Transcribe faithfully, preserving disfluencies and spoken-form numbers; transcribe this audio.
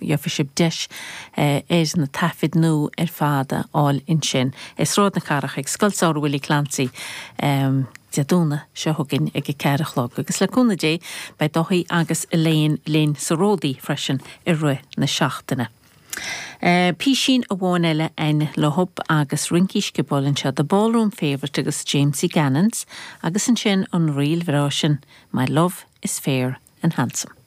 Gheobhaidh sibh deis ar na taifid nua ar fad a fháil ansin. I Sráid na Cathrach ag Scoil Samhraidh Willie Clancy Dé Domhnaigh seo chugainn ag a ceathair a chlog, agus le cúnamh Dé beidh Dáithí agus Elaine linn sa Ródaí freisin i rith na seachtaine. Písín amháin eile ein lehub agus rincí sciobóil anseo The Ballroom Favourite agus Jamesie Gannons agus ansin an ríl bhreá sin My Love is Fair and Handsome.